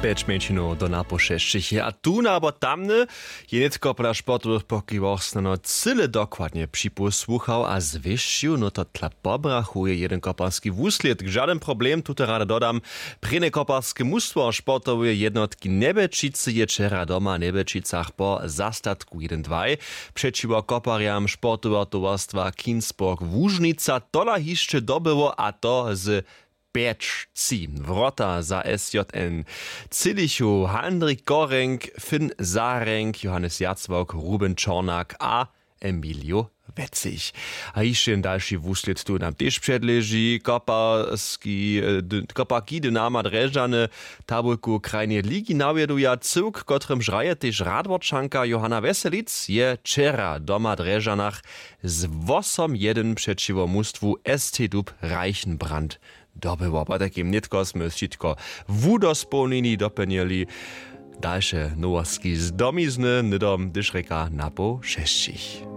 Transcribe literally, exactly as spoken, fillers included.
Pjeć mjeńšinow do napoł šesćich je a tón abo tamny je nětko pola sportowych pokiwoch snano cyle dokładnje připósłuchał a zwěsćił. No to tla pobrachuje jeden koparski wuslědk, žadyn problem. Tute rady dodam. Prěnje koparske mustwo sportoweje jednotki njebelčicy je wčera doma w njebelčicach po zastatku jeden dwaj přećiwo koparjam sportoweho towarstwa kinsburg łužnica tola hišće dobyło a to z pjeć tři. Wrota za sjn třělichu handrik korenk, finn zarenk, johannes jacwok, ruben čornak a emilio wetzich. A hišće jen dalši wuslěd tu nam tež předleži koparski, koparki dynama drježdźany tabulku krajneje ligi nawjeduja cyłk kotrymž hraje tež radworčanka johanna weselic je wčera doma w drježdźanach z wosom jedyn přećiwo mustwu st dub reichenbrand dobyło. Potajkim nětko smy wšitko wudospołnili doplnili. Dalše nowostki z domizny hnydom hdyž rěka napoł šesćich.